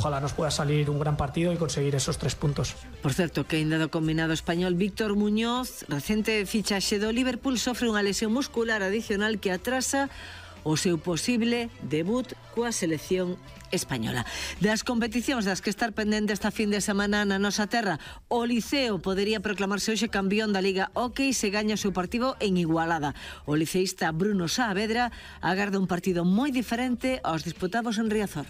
ojalá nos pueda salir un gran partido y conseguir esos 3 puntos. Por certo, que ainda do combinado español, Víctor Muñoz, recente fichaxe do Liverpool, sofre unha lesión muscular adicional que atrasa o seu posible debut coa selección española. Das competicións das que estar pendente esta fin de semana na nosa terra, o Liceo podería proclamarse hoxe campeón da Liga Hockey se gaña o seu partido en Igualada. O liceísta Bruno Saavedra agarda un partido moi diferente aos disputados en Riazor.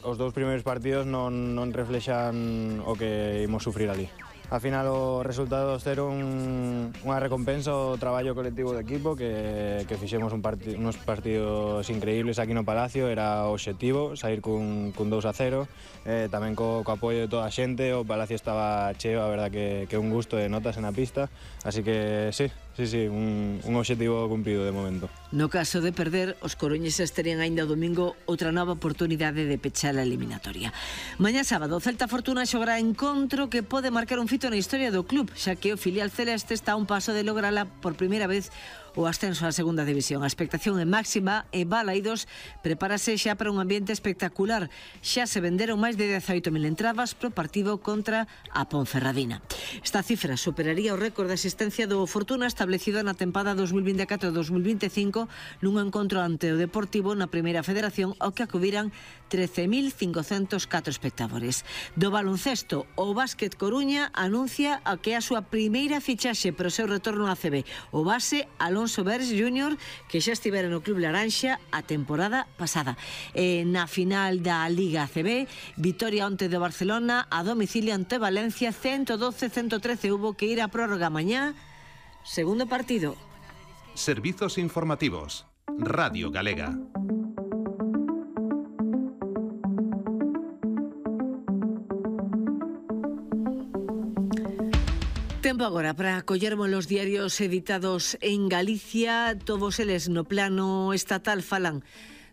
Os dous primeiros partidos non reflexan o que imos sufrir ali. Al final os resultados deron unha recompensa ao traballo colectivo do equipo que fixemos unos partidos increíbles aquí no Palacio. Era o obxectivo, sair cun 2-0, tamén co apoio de toda a xente. O Palacio estaba cheo, a verdad que un gusto de notas na pista, así que sí, un obxectivo cumprido de momento. No caso de perder, os coruñeses terían aínda o domingo outra nova oportunidade de pechar a eliminatoria. Mañá sábado, o Celta Fortuna xogará encontro que pode marcar un fito na historia do club, xa que o filial celeste está a un paso de lograla por primeira vez o ascenso á segunda división. A expectación é máxima e Balaidos prepárase xa para un ambiente espectacular. Xa se venderon máis de 18.000 entradas pro partido contra a Ponferradina. Esta cifra superaría o récord de asistencia do Fortuna establecido na tempada 2024-2025 nun encontro ante o Deportivo na Primeira Federación ao que acudiran 13.504 espectadores. Do baloncesto, o Básquet Coruña anuncia que é a súa primeira fichaxe para o seu retorno á ACB. O base Alonso Vers Jr., que xa estivera no Club Laranxa a temporada pasada. Na final da Liga ACB, vitoria onte do Barcelona a domicilio ante Valencia 112-113. Hubo que ir a prórroga mañá. Segundo partido. Servizos informativos. Radio Galega. Tempo agora para collermos os diarios editados en Galicia. Todos eles no plano estatal falan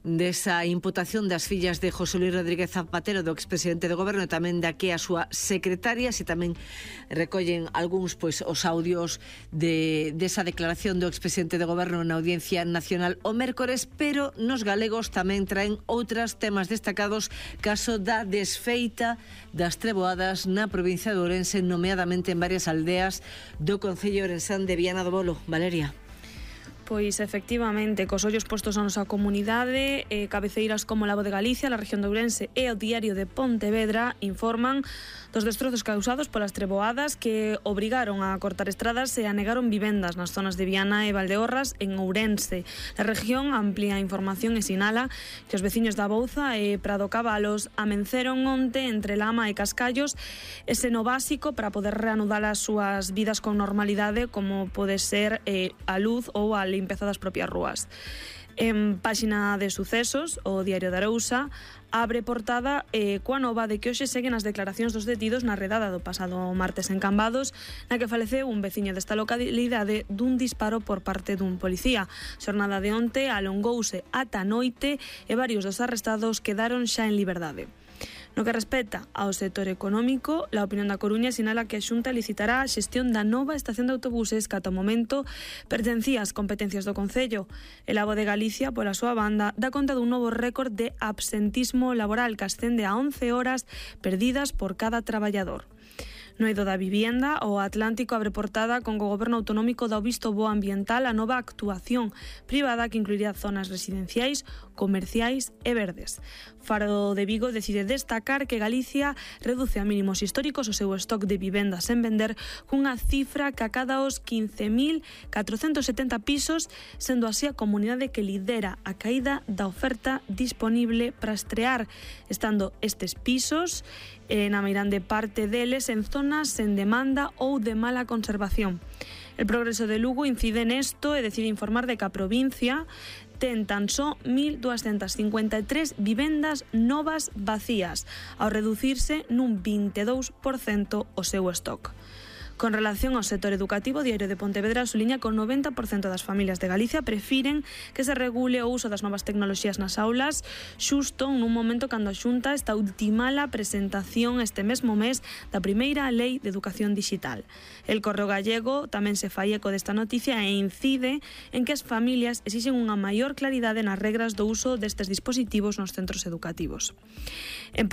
desa imputación das fillas de José Luis Rodríguez Zapatero, do expresidente do goberno, e tamén da que a súa secretaria, e tamén recollen algúns os audios desa declaración do expresidente do goberno na Audiencia Nacional o mércores, pero nos galegos tamén traen outros temas destacados, caso da desfeita das treboadas na provincia de Ourense, nomeadamente en varias aldeas do concello ourensán de Viana do Bolo. Valeria. Pois efectivamente, cos ollos postos a nosa comunidade, cabeceiras como La Voz de Galicia, la región de Ourense e o Diario de Pontevedra informan dos destrozos causados polas treboadas que obrigaron a cortar estradas e anegaron vivendas nas zonas de Viana e Valdeorras en Ourense. A región amplía a información e sinala que os veciños da Bouza e Prado Cabalos amenceron onte entre Lama e Cascallos ese no básico para poder reanudar as súas vidas con normalidade, como pode ser a luz ou a limpeza das propias rúas. En páxina de sucesos, o Diario de Arousa abre portada coa nova de que hoxe seguen as declaracións dos detidos na redada do pasado martes en Cambados, na que faleceu un veciño desta localidade dun disparo por parte dun policía. Xornada de onte alongouse ata noite e varios dos arrestados quedaron xa en liberdade. No que respecta ao sector económico, a Opinión da Coruña sinala que a Xunta licitará a xestión da nova estación de autobuses que ata o momento pertencía ás competencias do Concello. El Avo de Galicia, pola súa banda, dá conta dun novo récord de absentismo laboral que ascende a 11 horas perdidas por cada traballador. No eido da vivienda, o Atlántico abre portada con que o Goberno Autonómico dá o visto bo ambiental a nova actuación privada que incluiría zonas residenciais, comerciais e verdes. Faro de Vigo decide destacar que Galicia reduce a mínimos históricos o seu stock de vivendas en vender cunha cifra que acada os 15.470 pisos, sendo así a comunidade que lidera a caída da oferta disponible para estrear, estando estes pisos na meirande parte deles en zonas sen demanda ou de mala conservación. El Progreso de Lugo incide nesto e decide informar de que a provincia ten tan só 1.253 vivendas novas vacías, ao reducirse nun 22% o seu stock. Con relación ao sector educativo, o Diario de Pontevedra suliña que o 90% das familias de Galicia prefiren que se regule o uso das novas tecnoloxías nas aulas, xusto nun momento cando a Xunta está a ultimar a presentación este mesmo mes da primeira Lei de Educación Digital. El Correo Gallego tamén se fai eco desta noticia e incide en que as familias exixen unha maior claridade nas regras do uso destes dispositivos nos centros educativos. En